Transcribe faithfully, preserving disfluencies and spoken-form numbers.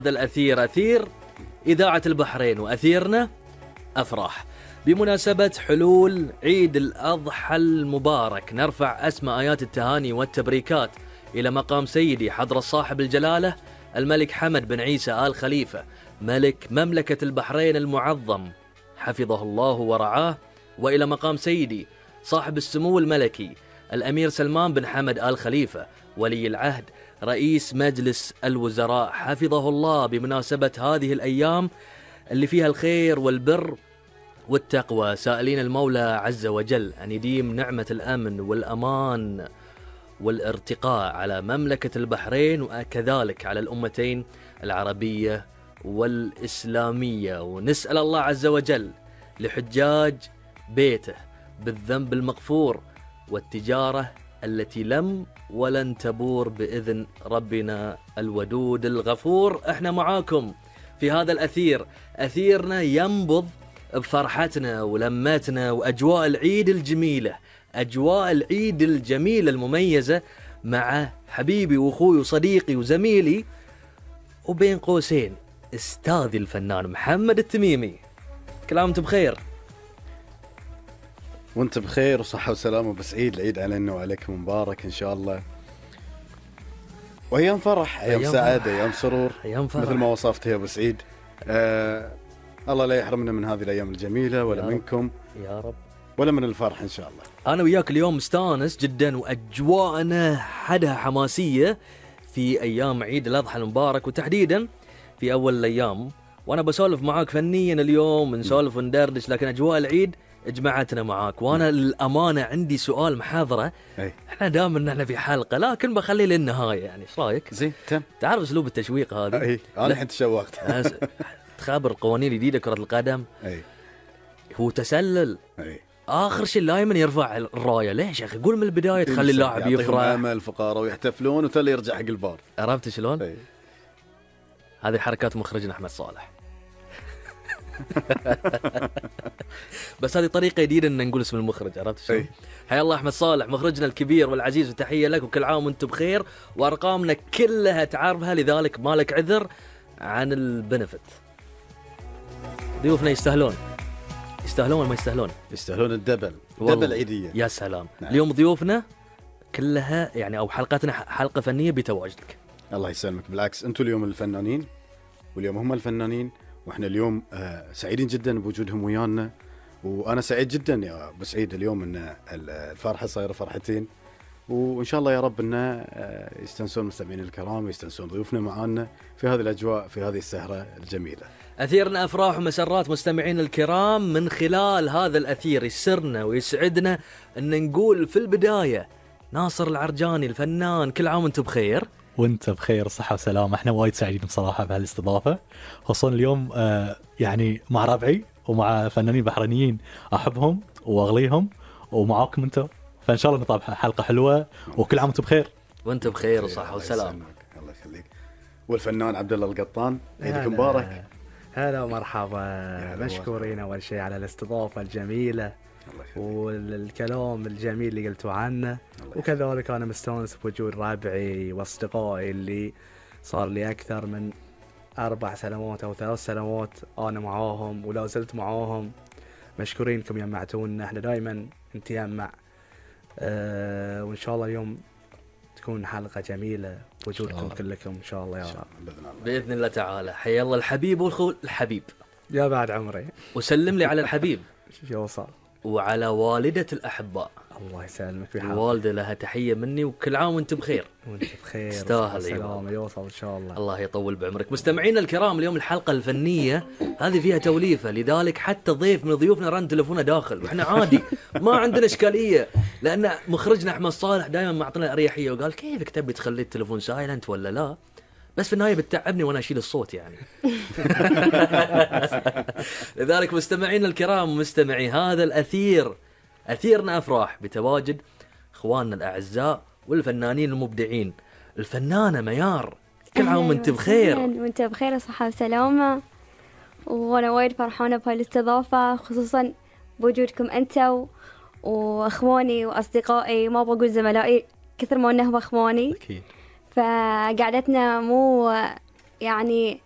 هذا الأثير أثير إذاعة البحرين وأثيرنا أفراح. بمناسبة حلول عيد الأضحى المبارك نرفع أسمى آيات التهاني والتبريكات إلى مقام سيدي حضرة صاحب الجلالة الملك حمد بن عيسى آل خليفة ملك مملكة البحرين المعظم حفظه الله ورعاه، وإلى مقام سيدي صاحب السمو الملكي الأمير سلمان بن حمد آل خليفة ولي العهد رئيس مجلس الوزراء حفظه الله، بمناسبة هذه الأيام اللي فيها الخير والبر والتقوى، سائلين المولى عز وجل أن يديم نعمة الأمن والأمان والارتقاء على مملكة البحرين وكذلك على الأمتين العربية والإسلامية. ونسأل الله عز وجل لحجاج بيته بالذنب المغفور والتجارة التي لم ولن تبور بإذن ربنا الودود الغفور. احنا معاكم في هذا الأثير، أثيرنا ينبض بفرحتنا ولمتنا وأجواء العيد الجميلة، أجواء العيد الجميلة المميزة مع حبيبي وأخوي وصديقي وزميلي وبين قوسين استاذي الفنان محمد التميمي. كل عام وانتم بخير. وانت بخير وصحة وسلامة وبسعيد. العيد علينا وعليكم مبارك إن شاء الله، وأيام فرح، أيام, أيام سعادة، فرح. أيام سرور، أيام فرح مثل ما وصفت يا أبو سعيد. آه الله لا يحرمنا من هذه الأيام الجميلة ولا يا منكم رب. يا رب ولا من الفرح إن شاء الله. أنا وياك اليوم مستانس جدا وأجواءنا حدها حماسية في أيام عيد الأضحى المبارك، وتحديدا في أول الأيام، وأنا بسولف معاك فنيا اليوم نسولف وندردش، لكن أجواء العيد اجمعتنا معاك. وانا للامانه عندي سؤال محاضره. أي. احنا دائما نحن في حلقه لكن بخليه للنهايه، يعني ايش رايك؟ زين تم. تعرف اسلوب التشويق هذا؟ اي انا الحين تشوقت. تخابر قوانين جديده كره القدم. اي هو تسلل. اي اخر شيء دائما يرفع الرايه. ليش يا اخي؟ قول من البدايه تخلي اللاعب يفرح امل الفقراء ويحتفلون وتلي يرجع حق البار. عرفت شلون؟ اي هذه حركات مخرجنا احمد صالح. بس هذه طريقة جديدة ان نقول اسم المخرج. عرفت شلون؟ حيا الله احمد صالح مخرجنا الكبير والعزيز، وتحية لك وكل عام وانتم بخير، وارقامنا كلها تعرفها، لذلك مالك عذر عن البنفت. ضيوفنا يستاهلون يستاهلون ولا ما يستاهلون؟ يستاهلون الدبل دبل عيدية. يا سلام. نعم. اليوم ضيوفنا كلها يعني او حلقاتنا حلقة فنية بتواجدك. الله يسلمك. بالعكس انتم اليوم الفنانين واليوم هم الفنانين، واحنا اليوم آه سعيدين جدا بوجودهم ويانا، وانا سعيد جدا يا ابو سعيد اليوم ان الفرحه صايره فرحتين، وان شاء الله يا رب ان آه يستانسون المستمعين الكرام ويستانسون ضيوفنا معانا في هذه الاجواء في هذه السهره الجميله. اثيرنا افراح ومسرات مستمعين الكرام. من خلال هذا الاثير يسرنا ويسعدنا ان نقول في البدايه ناصر العرجاني الفنان كل عام وانتم بخير. وانت بخير صحة وسلامة. احنا وايد سعيدين بصراحة بهالاستضافة، خصوصا اليوم آه يعني مع ربعي ومع فنانين بحرينيين احبهم واغليهم ومعاكم انتم، فان شاء الله نطلع حلقة حلوة وكل عام وانتم بخير. وانت بخير وصحة وسلامة. الله يخليك. والفنان عبد الله القطان عيدكم مبارك. هلا ومرحبا، مشكورين اول شيء على الاستضافة الجميلة والكلام الجميل اللي قلتوا عنه، وكذلك أنا مستانس بوجود ربعي وأصدقائي اللي صار لي أكثر من أربع سنوات أو ثلاث سنوات أنا معاهم ولا زلت معاهم. مشكورينكم يمعتونا، احنا دائما نتيمع أه وإن شاء الله اليوم تكون حلقة جميلة بوجودكم كلكم إن شاء الله يا رب بإذن الله تعالى. حيا الله الحبيب والخو الحبيب يا بعد عمري، وسلم لي على الحبيب يوصل، وعلى والدة الأحباء. الله يسلمك. الوالدة لها تحية مني، وكل عام وانت بخير. وانت بخير. تستاهل. سلام يوصل إن شاء الله. الله يطول بعمرك. مستمعينا الكرام اليوم الحلقة الفنية هذه فيها توليفة، لذلك حتى ضيف من ضيوفنا رن تلفونه داخل، وإحنا عادي ما عندنا إشكالية، لأن مخرجنا أحمد صالح دائما معطينا أريحية وقال كيفك تبي تخلي التلفون سايلنت ولا لا، بس في النهاية بتتعبني وأنا أشيل الصوت يعني. لذلك مستمعينا الكرام مستمعي هذا الأثير، أثيرنا أفراح بتواجد إخواننا الأعزاء والفنانين المبدعين. الفنانة ميار كل عام وانت بخير. وانت بخير وصحة وسلامة، وأنا وايد فرحانة بهالاستضافة، خصوصا بوجودكم أنت وأخواني وأصدقائي، ما بقول زملائي كثر ما أنهم أخواني. أكيد. فقعدتنا مو يعني